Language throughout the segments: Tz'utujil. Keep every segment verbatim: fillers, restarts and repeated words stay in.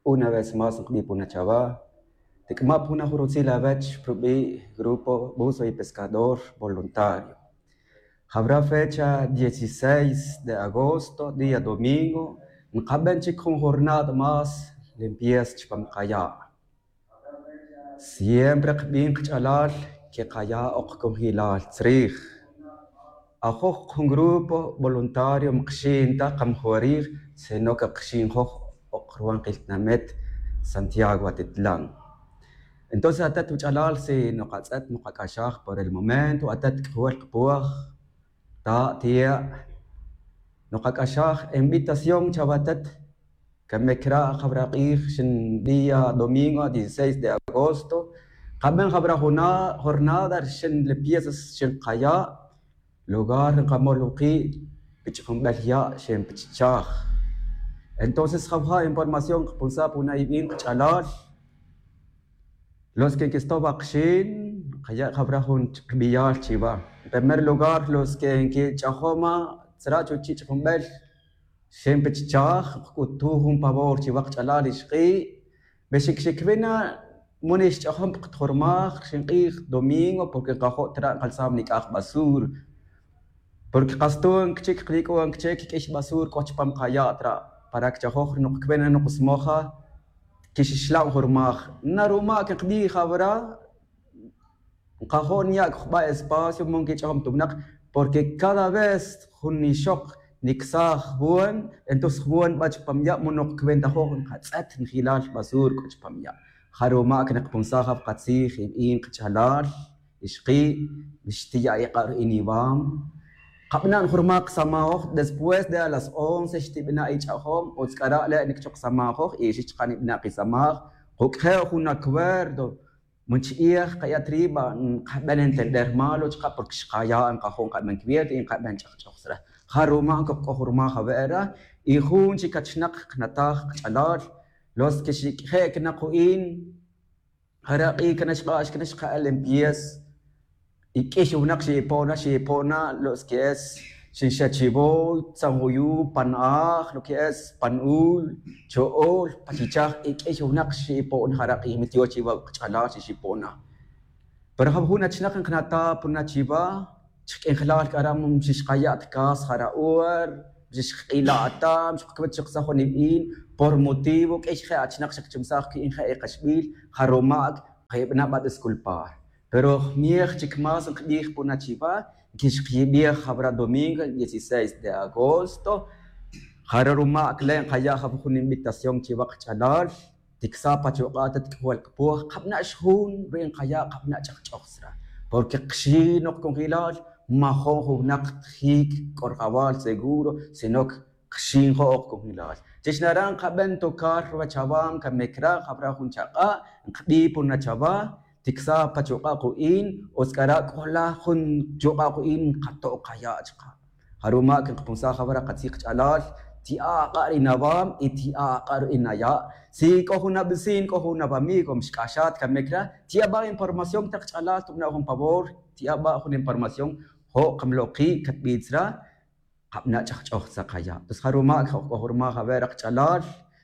Una vez más nkbij puna chawa, tik'ma' puna jun rutzil awech pi rubi' grupo buzo y pescador voluntario. Jawra fecha dieciséis de agosto, día domingo, nkaben chic jun jornada más limpieza chupam kaya'. Siempre kbin kach'alal que kaya' ok congelal tzrij. Ajoj jun grupo voluntario mkxin ta kamjorij, sino que kxin joj ok ruwan kiltinamet Santiago Atitlan. Entonces atet wach'alal, si nokatz'et nokak'axaj por el momento, atet k'ajol kpoj, ta' tiya', nokak'axaj invitación chawa atet. Came cra' jawra k'ij xin día domingo dieciséis de agosto, kaben jawra juna jornada rixin limpieza xin kaya', lugar nkamol wuki' pich'junbel ya' xin pichichaj. Entonces jawja' información kpunsa puna ibin kach'alal. Los que nkistow akxin, kaya' jawra jun kbiyal chiwa. En primer lugar, los que nkich'ajoma tzra' chuchi' ch'ajunbel, xen pe chichaj, kc'utuj jun favor chiwa kach'alal ixki'. Be xikxikwi na, muni xch'ajom pa katjormaj rixin k'ij domingo, porque nkajo' tra' nkalsam nic'aj basura. Porque kas tu'n kchik, klik'u'n kchik, k'ix basura k'o chupam kaya' tra'. Para que chajoj noq kwe na noqsmoja, quixixlan jurmaj. Na ruma' que kbij jawra, nkajo' niya' cojba' espacio mo nquich'ajom ta winak, porque cada vez jun ixok nicsaj jun, entonces jun nba chupam ya' mo noq cwe ntajo' nkatz'et njilal basura c'o chupam ya'. Ja ruma' que nokpunsaj awkatzij ibin kach'alal, ixki', xtiya' ik'a' ru'in iwam. Kabana' jurmaj ksamajoj, después de a las once xtibana' ich'ajom, utz c'ara' le' niquichok ksamajoj, y xix chaka' nibana' kisamaj, kuc'je' jun acuerdo, mo nchi'ij kaya' triba, nkabel entender malo chaka' porque xkaya' nkajo' nkaben cubierto y nkaben ch'ajch'oj sra. Ja ruma' coj c'o jurmaj awe'ra, y jun chic achinak canataj kach'alal, los que xic'je' cana ku'in, jara' k'i cana xk'ax cana xka'el limpieza, y q'uiy winak xi'ipona, xi'ipona lo que es xinxe' chivoy, tzanjuyu, pan aj, lo que es pan ul, cho'ol, pachichaj, y q'uiy winak xi'ipona jara' k'i mi tiox chiva kach'alal xixipona. Pero ja jun achinak nkanataj puna chiva, chik'injelal c'ara' mo xixkaya' ta casa jara' hora, xixkila' ta, xkacubet xiksajon ibin, por motivo q'uiy je' achinak xakchumsaj cu'in je' ikaxbil, ja ruma' kayibana' ba disculpar. Pero miej chic más nkbij puna chiva, nquixkiyibej jawra domingo dieciséis de agosto. Jara' ruma' cla' nkaya' jawa jun invitación chiwa kach'alal, tiksa pa chuk'a' ta tik'ojol kpoj, kabana' xjun ru'in kaya', kabana' ch'ajch'oj sra. Porque kxi' nok congelal, majo'n jun winak tjic c'o rajawal seguro, sino que kxin jo'ok congelal. Chix nara' nkaben tocar ruwech awa, came cra' jawra jun chak'a', nkbij puna chawa, tiksa pa chuk'a' ku'in, utz c'ara' c'o la jun chuk'a' ku'in nkato' kaya' chaka'. Ja ruma' que nkapunsaj jawra katzij kach'alal, ti'a' ak'a' ru'in awam y ti'a' ak'a' ru'in aya'. Si c'o jun abisin, c'o jun awamigo, mixc'axat came cra', ti'a ba información ta kach'alal, tubana' jun favor, ti'a ba jun información, jo' kamloki' catbij sra, kabana' ch'ajch'oj sra kaya'. Entonces ja ruma' que ok c'o jurmaj awe'ra kach'alal,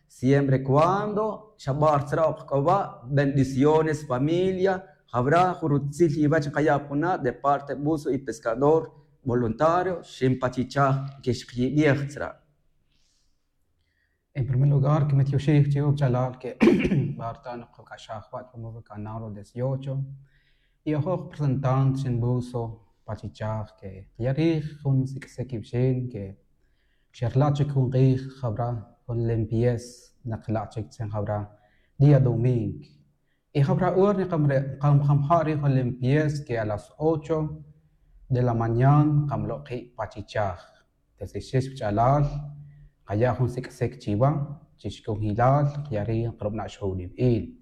siempre cuando xabar sra ok c'o wa, bendiciones familia, jawra jun rutzil iwech nkaya' puna de parte buzo y pescador voluntario, xinpachichaj quixkiyibej sra. En primer lugar, que me tioxij chiwa wach'alal que barta nokac'axaj wa' chupam canal dieciocho. Y ajoj representante xin buzo pachichaj que ya rij jun sic'sec iwixin que xerla' chic jun k'ij jawra jun limpieza, nakla' chic tzen jawra día domingo. Y jawra hora nikamja'ri jun limpieza que a las ocho de la mañana kamloki' pachichaj. Entonces xix wach'alal, kaya' jun sic'sec chiwa, chix congelal, kaya' rij nkarubana' xjun ibin.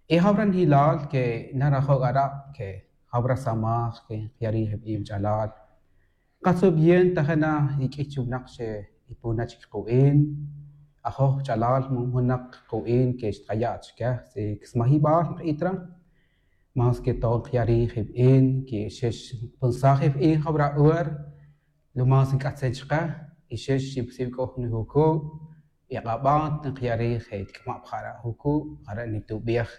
Y jawra njilal que narajo' c'ara' que jawra samaj que ya rij ibin wach'alal. Katzu bien ta je' na iq'uiy chi winak xe'ipona chic ku'in. Ajoj wach'alal, mo jun winak ku'in que xtkaya' chique, si ksmajibal nk'it ra, más que todo nkaya' rij ibin, que xix npunsaj ibin jawra hora, lo más nc'atzen chake, y xix xibsib c'o jun jucu', Y k'abat nkaya' rij je' tik'ma' pa jara' juku' jara' nitubej.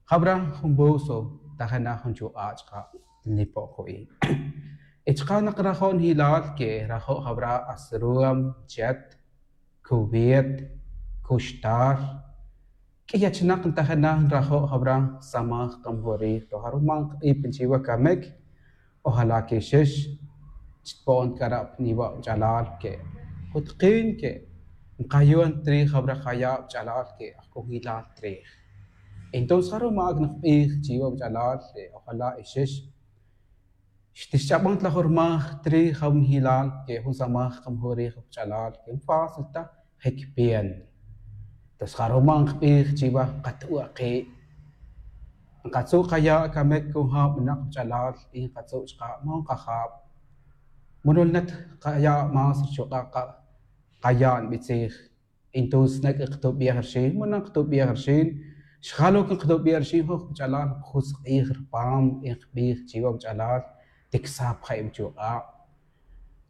Jabra jun buzo tajena jun chuk'a' chka' nipo' ku'in. Y chka' naqrajo' njilal que rajo' jabra asruam, chet, cubet, cuxtal. Q'uiy achinak ntajena nrajo' jabra samaj kamjorij to jaruma' nkbij pil chiwa camic. Ojalá que xix chitpo'on c'a ra' niwa' wach'alal que jutkin que nkayon trij jabra jaya' wach'alal que ajc'o njilal trij. Entonces jaruma' ac nkbij chiwa wach'alal, ojalá y xix xtixch'aban ta la jurmaj trij jabra njilal que jun samaj kamjorij wach'alal que nfácil ta jicpian. Entonces jaruma' nkbij chiwa nkatu'aki' nkatzu' kaya' camic con jab winak wach'alal y nkatzu' chka' mo nkajab. Munul net kaya' más rchuk'a' kaya' nbitzij. Entonces nec' nkatubej rxin, muna nkatubej rxin. Xjal oc nkatubej rxin joj wach'alal nkajusk'ij rpam y nkbij chiwa wach'alal tiksa' pa ja' iwachuk'a',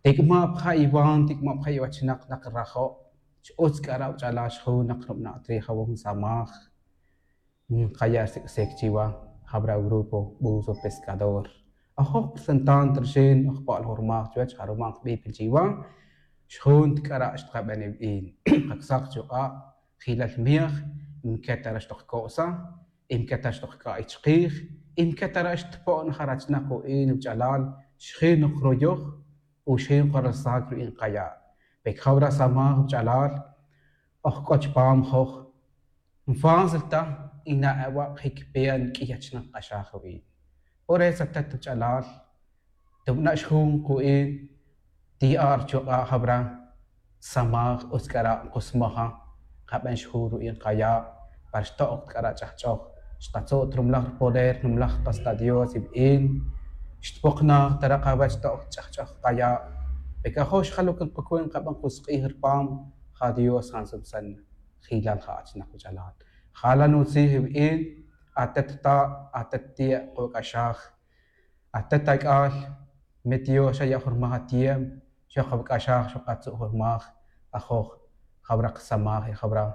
tik'ma' pa ja' iwan, tik'ma' pa ja' iwachinak nak nrajo'. X-utz c'a ra' wach'alal xjun nak nrubana' trij jabon samaj. Nkaya' rsic' sic chiwa jabra grupo buzo pescador. Ajoj presentant rxin oj pa' la jurmaj chuwech jaruma' nkbij pil chiwa. Xjun ta c'a ra' xtkaben iwin nkacsak chuk'a' jilal miej. Nqueta ra' xtokco'sa, nqueta ra' xtokc'a'iy chkij, nqueta ra' xtpo'n jarachnak ku'in wach'alal. Xjin ok ruyoj o xjin ok ralsac ru'in kaya'. Pe cjawra' samaj wach'alal oj c'o chupam joj. Nfácil ta y na ewa' jicpian q'uiy achinak k'axaj ru'in. Por eso atet wach'alal tubana' xjun ku'in tiya' rchuk'a' jabra samaj utz c'a ra' nkusmaja. Kaben xjun ru'in kaya' para xto'k ta c'a ra' ch'ajch'oj. Xkatzu' ta rumlaj rpoder numlaj kas ta dios iwin. Xtpoknaj ta ra' kawech to'k ta ch'ajch'oj kaya'. Pe c'a joj xjal oc nkacuy nkaben kusk'ij rpam ja dios ja nsutzan. Jilal ja achinak wach'alal jala' nutzij iwin. Atet ta' atet ti' kawac'axaj. Atet ac'al mi dios xa ya' jurmaj atiempo. Xok kawac'axaj xok katzu' jurmaj. Ajoj jawra kasamaj y jawra